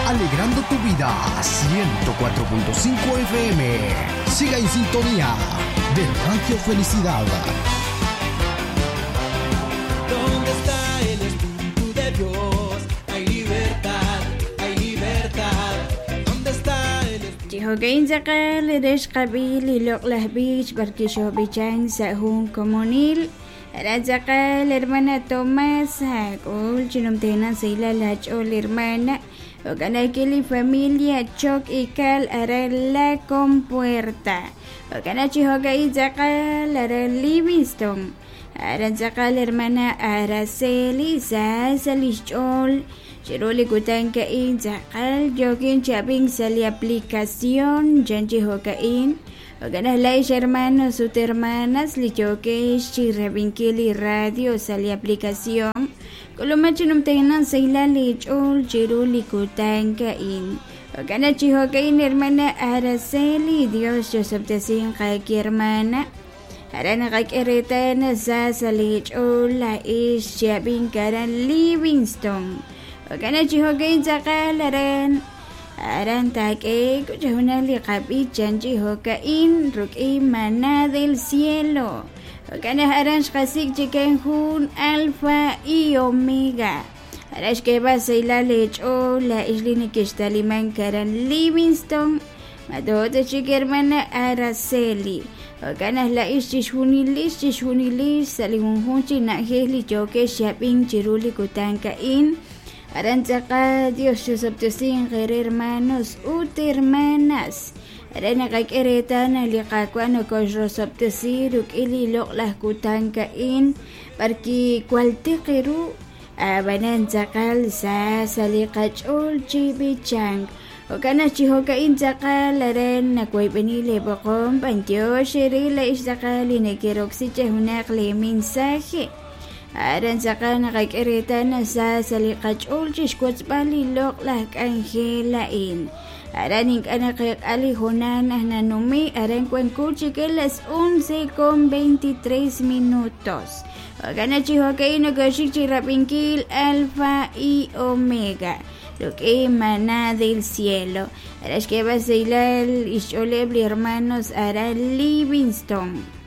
Alegrando tu vida, 104.5 FM. Siga en sintonía de Radio Felicidad. ¿Dónde está el Espíritu de Dios? Hay libertad, hay libertad. ¿Dónde está el Espíritu? Chi jo'ka'in tz'aqal re xqab'i li loq'laj b'ich b'ar kixoob'ichan sa' jun komonil. Aran tz'aqal hermana Tomasa k'ul chinumtena sahilal lach'ool hermana. Jo'kan ajwi' li familia Choc Ikal aran La Compuerta. Jo'kan chi jo'ka'in tz'aqal aran Livingston. Aran tz'aqal hermana Araceli sa sa lix ch'ool chiru li kutan ka'in tz'aqal yookin chi ab'ink sa' li aplicación chan chi jo'ka'in. Jo'kan aj la'ix hermanos ut hermanas li yookex chi rab'inkil li radio sa' li aplicación. K'uluma chi numtena sahilal li ch'ool chiru li kutan ka'in. Jo'kan chi jo'ka'in hermana Araceli, Dios chosob'tesinq aaki hermana. Aran naqak'e reetal sa sa li ch'ool la'ix chi ab'ink aran Livingston. Jo'kan chi jo'ka'in tz'aqal aran aran taak'e k'uchajunal li qab'ich chan chi jo'ka'in ruk'in maná del cielo. Jo'kan aj aran xqasik' chikan jun alfa y omega. Aran xk'eeb'al sahilal li ch'ool la'ix li nekextalimank aran Livingston. Mato'ta chik hermana Araceli. Jo'kan aj la'ix chixjunilix chixjunilix sa' li junjunq chi na'ajej li yookex chi ab'ink chiru li kutan ka'in. Aran tz'aqal Dios chusob'tesinq eere hermanos ut hermanas. Aran naqak'e reetal naq li Qaawa' nokoxrosob'tesi ruk'in li loq'laj kutan ka'in b'ar kiwaltiq ru ab'anan tz'aqal sa sa li qach'ool chi b'ichank. Jo'kan naq chi jo'ka'in tz'aqal aran nawoyb'eni leeb'oqom b'antiox eere la'ix tz'aqal li nekeroksi chejunaq lee mensaje. Aran tz'aqal naqak'e reetal naq sa sa li qach'ool chixwotzb'al li loq'laj k'anjel a'in. Aran ink'a' naqeek'a li hoonal naq nanume' aran wanko chik las 11:23 minutos. Jo'kan naq chi jo'ka'in nokoxik chi rab'inkil Alfa y Omega. Ruk'in maná del cielo. Aran xk'eeb'al sahilal ixch'ooleb' li hermanos aran Livingston.